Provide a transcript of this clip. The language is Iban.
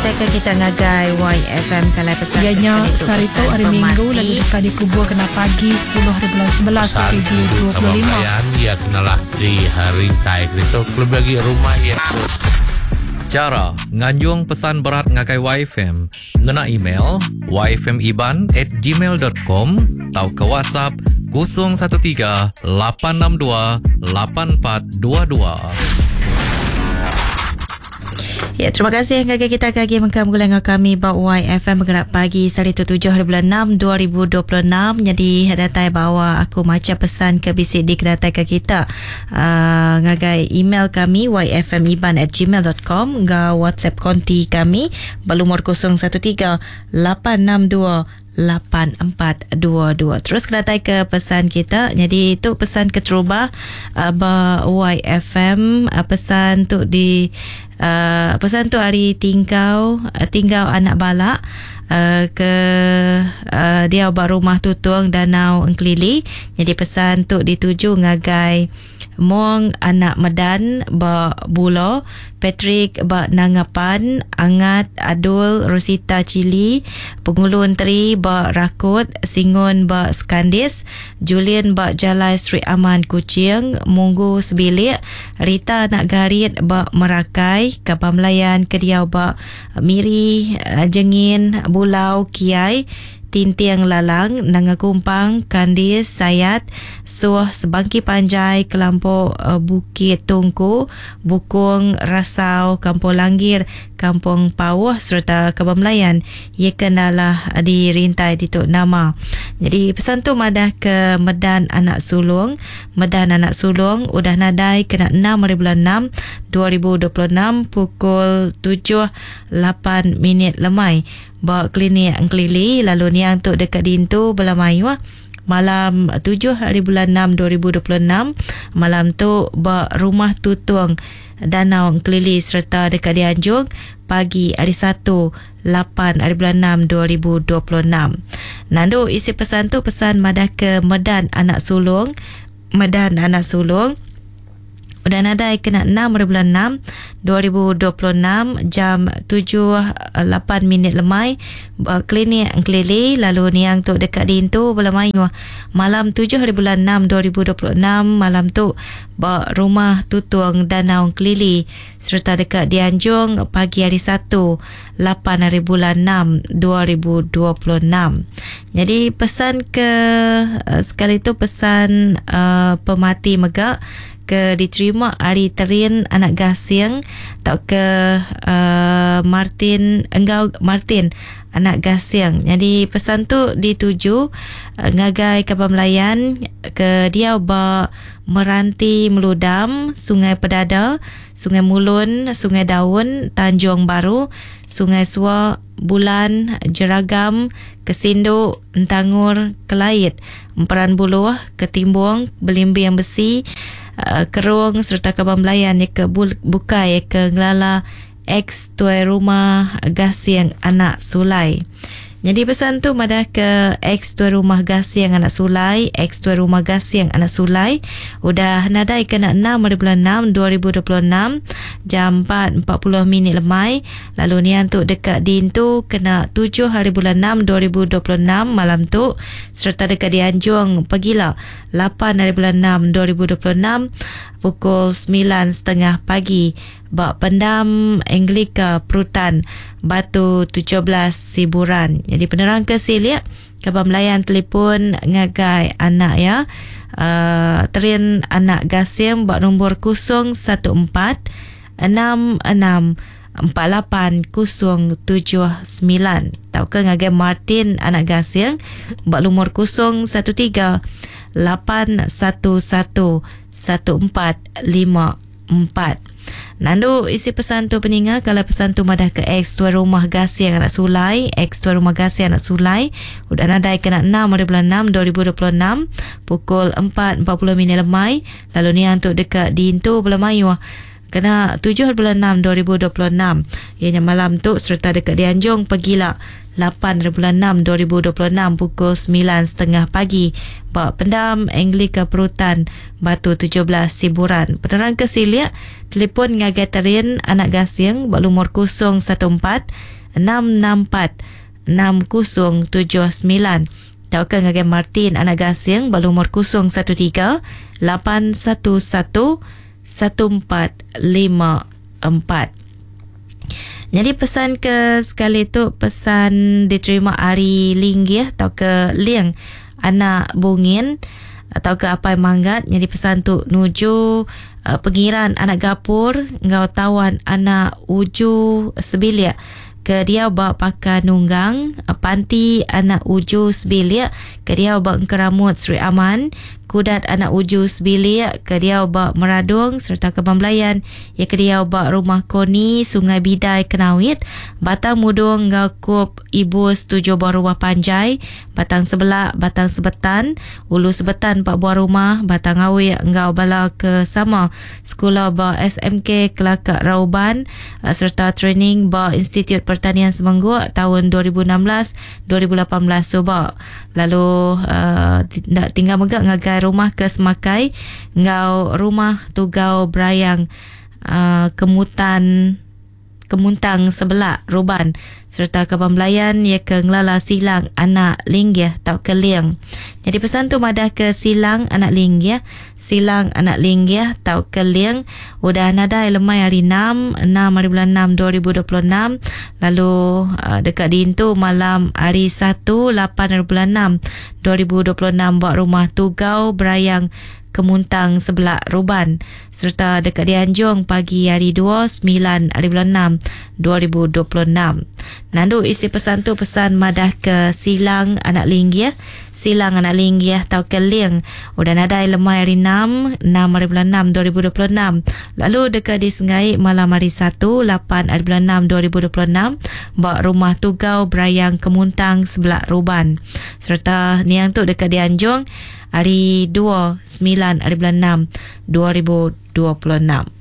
Kenatai ke kita ngagai YFM kalai pesan Iya ke nya sekali tu sehari tu pesan hari Minggu lalu pemati. deka dikubur kena pagi 10 hari bulan 11 Pesan kudu kaban 2025. belayan iya kenalah di rintai ke ditu kelebih agi rumah iya ke Chara nganjung pesan berat ngagai YFM ngena email yfmiban at gmail dot com tauka WhatsApp 013 862 8422. Ya, terima kasih ngagai kita ke agi mengkang begulai enggau kami ba YFM bergerak pagi sehari tu 7 hari bulan 6 2026. Nyadi datai bawa aku macha pesan ke bisi dikenataika kita uh, ngagai email kami yfmiban@gmail.com enggau WhatsApp konti kami ba lumur 013 862 8422. Terus kedatai ke pesan kita. Jadi tu pesan keterubah uh, ba YFM uh, pesan tu di uh, pesan tu hari tingkau uh, tinggal anak balak uh, ke uh, dia ba rumah tutung Danau Engkelili. Jadi pesan tu dituju ngagai Mong anak Medan ba Bulo, Patrick ba Nangapan, Angat Adul Rosita Chili, Pengulu Enteri ba Rakut, Singun ba Skandis, Julian ba Jalai Sri Aman Kuching, Munggu Sebilik, Rita anak Garit ba Merakai, Kapal Melayan ke diau ba Miri, Jengin, Bulau, Kiai, Tinting Lalang, Nanga Kumpang, Kandis, Sayat, Suh, Sebangki Panjai, Kelampok Bukit Tungku, Bukung, Rasau, Kampung Langgir, Kampung Pauh serta Kaban Melayan ia kenalah di rintai ditu nama. Jadi pesan tu madah ke Medan Anak Sulung, Medan Anak Sulung udah nadai kena 6 hari bulan 6 2026 pukul 7 8 minit lemai ba klinik Engkelili lalu niang tu dekat dintu bela mayuh malam 7 hari bulan 6 2026 malam tu ba rumah tutung Danau Engkelili serta dekat dianjung pagi hari 1 8 hari bulan 6 2026. Nandu isi pesan tu pesan madah ke Medan Anak Sulung, Medan Anak Sulung udah nadai kena 6 hari bulan 6 2026 jam 7 8 minit lemai ba klinik Engkelili lalu niang tu dekat dintu bela mayuh malam 7 hari bulan 6 2026 malam tu ba rumah tutung Danau Engkelili serta dekat dianjung pagi hari 1 8 hari bulan 6 2026. Jadi pesan ke uh, sekali tu pesan uh, pemati mega ke diterima ari Terin anak Gasing tau ke uh, Martin enggau Martin anak Gasing. Jadi pesan tu dituju uh, ngagai Kaban Melayan ke diau ba Meranti Meludam, Sungai Pedada, Sungai Mulun, Sungai Daun, Tanjung Baru, Sungai Sua, Bulan, Jeragam, Kesindu, Entangur, Kelait, Emperan Buluh, Ketimbung, Belimbing Besi, uh, Kerung serta Kaban Melayan ke bukai ke ngelala ex tuai rumah Gasing anak Sulai. Jadi pesan tu madah ke ex tuai rumah Gasing anak Sulai, ex tuai rumah Gasing anak Sulai udah nadai kena 6 hari bulan 6 2026 jam 4.40 minit lemai lalu nian tu dekat dintu kena 7 hari bulan 6 2026 malam tu serta dekat dianjung pegila 8 hari bulan 6 2026 pukul 9.30 pagi ba pendam Anglika Perutan Batu 17 Siburan. Jadi penerang ke silik Kaban Melayan telefon ngagai anak ya. Terin anak Gasim ba nombor 014 66 48079 tau ke ngagai Martin anak Gasing ba lumur 013 811 1454. Nandu isi pesan tu peninga kalau pesan tu madah ke ex tuan rumah Gasing anak Sulai, ex tuan rumah Gasing anak Sulai udah nadai kena 6 hari bulan 6 2026 pukul 4.40 minit lemai lalu niang tu dekat dintu bela mayuh Kena tujuh hari bulan enam 2026 iya nya malam tu sereta deka dianjung pegila lapan hari bulan enam 2026 pukul semilan setengah pagi ba Pendam Anglika Perutan Batu 17 Siburan. Penerang ke silik, telefon ngagai Terin Anak Gasing ba lumur 014 664 6079 tauka ngagai Martin Anak Gasing ba lumur 013 811 1454. Nyadi pesan ke sekali tu pesan diterima ari Linggih tauka Ling anak Bungin tauka Apai Manggat. Nyadi pesan tu nuju pengiran anak Gapur enggau tawan anak Uju sebilik ke diau ba Pakan Nunggang, Panti anak Uju sebilik ke diau ba Engkeramut Sri Aman, Kudat anak Uju sebilik ke diau ba Meradong sereta Kaban Belayan iya ke diau ba Rumah Koni Sungai Bidai Kenawit, Batang Mudong enggau Kup Ibus tujuh buah rumah panjai, Batang Sebelak, Batang Sebetan, Ulu Sebetan empat buah rumah, Batang Awik enggau bala ke sama sekula ba SMK Kelaka Rauban sereta training ba Institut Pertanian Semengguk taun 2016 2018 suba. Lalu enda tinggal mega ngagai rumah ke Semakai enggau rumah Tugau Berayang Kemutan Kemuntang Sebelak Ruban sereta kaban belayan iya ke ngelala Silang anak Linggih tauka Ling. Nyadi pesan tu madah ke Silang anak Linggih, Silang anak Linggih tauka Ling udah nadai lemai hari enam, enam hari bulan enam 2026 lalu deka diintu malam hari satu, lapan hari bulan enam 2026 ba Rumah Tugau Berayang Kemuntang Sebelak Ruban sereta deka dianjung pagi hari dua, semilan hari bulan enam 2026. Nandu isi pesan tu pesan madah ke Silang anak Linggih, Silang anak Linggih tauka Ling udah nadai lemai hari enam, enam hari bulan enam 2026 lalu deka disenggai malam hari satu, lapan hari bulan enam 2026 ba Rumah Tugau Berayang Kemuntang Sebelak Ruban sereta niang tu deka dianjung hari dua, semilan hari bulan enam 2026.